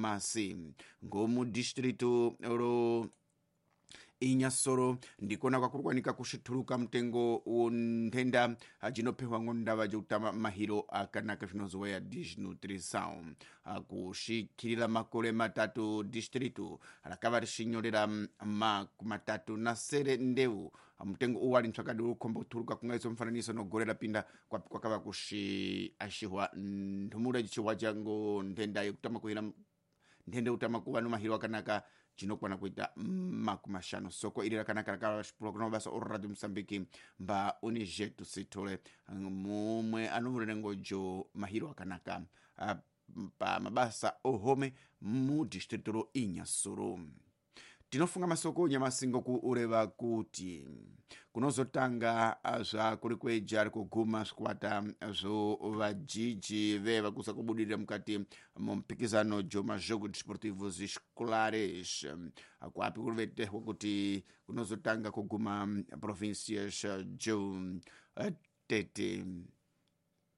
Nyamasi ngomu distrito ro Inyasoro ndikona kwakuri kwanika kusvituluka mutengo wonthenda jinophewa ngondava jokutama mahiro akanaka zvinozoweya desnutrição. Kusvikirira makore matatu distrito rakava richinyorera 37 ndeu mutengo uwu wali ntsvakadi uri kukhomba kutuluka kungaiso mufananiso nogore rapinda kwakava kusviashihwa nthumura jichihwa jango nthenda yekutama kuhira nthenda yekutama kuva nomahiro akanaka jinokwana kuita 50. Soko iri rakanaka rakavashipurwa kuna mabasa oradio Mosambiki mba unijetu sithole mumwe anovurira ngojo mahiro akanaka pa mabasa ohome mu distrito ro Inhassoro. Tinofunga masoko nyamasingo kuureva kuti kunozotanga zvakuri kweja ari kuguma zvikwata zvo vajiji veva kusa kubudirira mukati mumphikizano jo majogos desportivos escolares kwapi kurivetehwa kuti kunozotanga kuguma provincias jo Tete,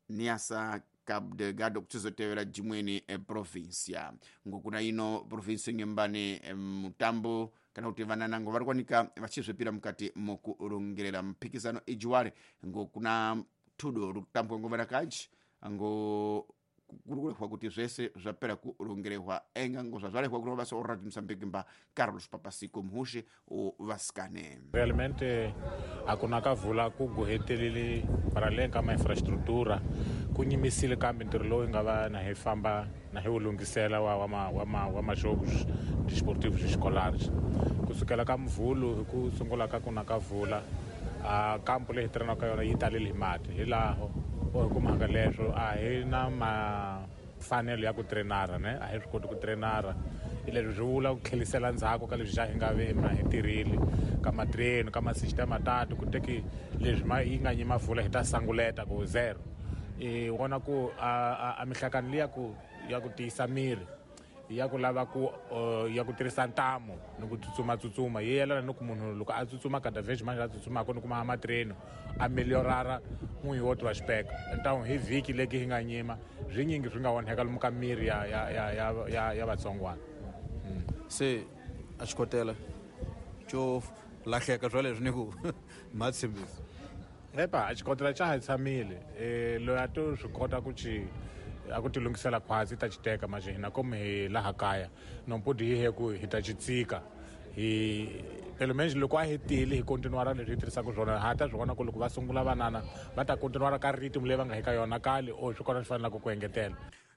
Niassa, Cabo Delgado, kuchizotevera jimweni provincia. Ngokuna ino provinsia nyembane mutambo kana kuti vananango vari kuwanika vachizvipira mukati mokurongerera muphikizano ijiwari ngokuna tudo rikutambwa ngo vanakaji ngo kuri kurehwa kuti zvese zvapera kurongerehwa enga ngo zvazvarehwa kuno basa oradio Mosambiki mba Carlos Papasico muhushi vasikane. Realmente a ku na ka vula ku gohetelele para além ka ma-infraestrutura ku nyimisile kambe ntirho lowu hi nga va na hi famba na hi wu lunghisela wa majogos desportivos escolares kusukela ka mvhulu hi ku sungula ka ku na ka vula a kampo leyi hi tirhanaka ka yona yi talele hi mati hi laho o hi kumaka leswo a hi na mafanelo ya ku trenara ne a hi swi koti ku trenara hi leswi swi vula ku tlhelisela ndzhaku ka leswi xa hi nga ve na hi tirhile ka matreni ka masixita matatu ku teki leswi ma yi nga nyima vula hi ta sanguleta ku zero i vona ku a mihlakano liya ku ya ku tiyisa miri ya ku lava ku ya ku tirhisa ntamu ni ku tsutsuma yi yelana ni ku munhu loko a tsutsuma kada vez manje a tsutsumaka ni kuma matreni a meliorara n'wi wo tiva xipeka ntamu hi vhiki leki hi nga nyima swinyingi swi nga onheka lomu ka miri ya vatsongwana. Se a xikotela xo lahleka swa leswi ni ku ma tshembisi. Epa a xikotela xa ha tshamile loyi a to swi kota ku ci a ku ti lunghisela khwatsi ta xi teka manje hina komu hi laha kaya nompudi hi he ku hi ta xi tsika hi pelo menos loko a hetile hi continuara leswi hi tirhisaka swona ha ta swi vona ku loko va sungula vanana va ta continuara ka rhythm leyi va nga hi ka yona kale o swi kona swi fanelaka ku engetela.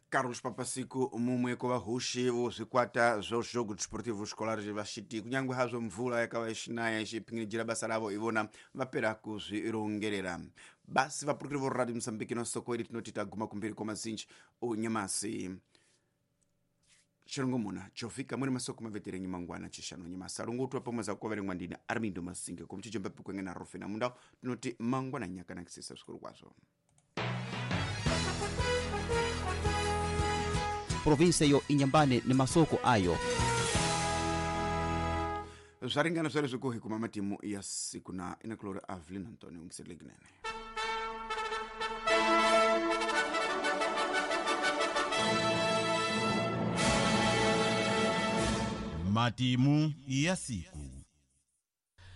Carlos Papasico mumwe kuvahushi vozvikwata zvo jogo desportivo escolar vachiti kunyange hazvo mvura yakava ichinaya ichipingirijira basa ravo ivona vapera kuzvirongerera basi. Vapurukiri vo Radio Mosambiki nosoko iri tinoti taguma kumberi kwamazinji onyamasi chirongomuna chovhika muri masoko maveterenyi mangwana chishanu nyamasi arongotwa pamwe zakuverengwa ndina Armindo Masinge komuchijomba pikwenge na Rofena mundau tinoti mangwana nyakanakisisa zvikuru kwazvo. Provinsia yo Inyambane ni masoko ayo. Zvaringana zvare zvekuhi kuma matimu ya siku na inakulori Avelin Antonio ungiselekinene. Matimu ya siku.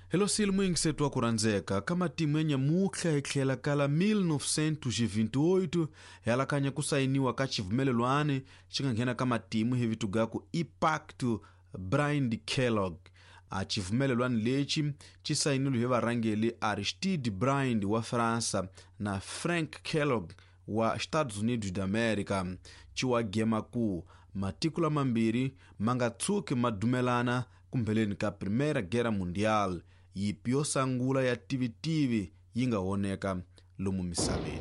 Hello sili mwingisetu wa kurandzeka ka matimu ya nyamutlha hi tlhela kala 1928 helakanya ku sayiniwa ka xivumelelwani xi nga nghena ka matimu hi vito ga ku i Pacto Briand Kellogg. A xivumelelwani lexi xi sayinile hi varhangeli Aristide Briand wa Fransa na Frank Kellogg wa Estados Unidos da América xi wa gema ku matiko lamambirhi ma nga tshuki ma dumelana kumbheleni ka Primeira Guerra Mundial, yipi yo sangula ya tivitivi yi nga voneka lomu misaveni.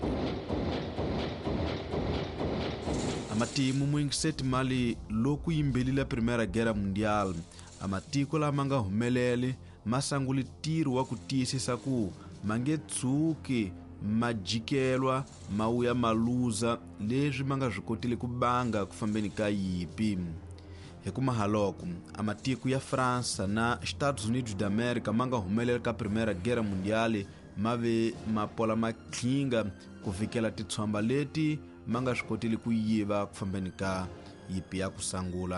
Amatimu muingiseti mali loku yimbelile Primeira Guerra Mundial, amatiko lama nga humeleli ma sangule ntirho wa ku tiyisisa ku ma nge tshuki ma jikelwa ma wuya ma luza leswi ma nga swi kotile ku banga ku fambeni ka yipi. Hi ku mahaloko amatiko ya Fransa na Estados Unidos da América ma nga humelela ka Primeira Guerra Mundial ma ve ma pola matlhinga ku fikela titshomba leti ma nga swi kotile ku yiva ku fambeni ka yipi ya ku sangula.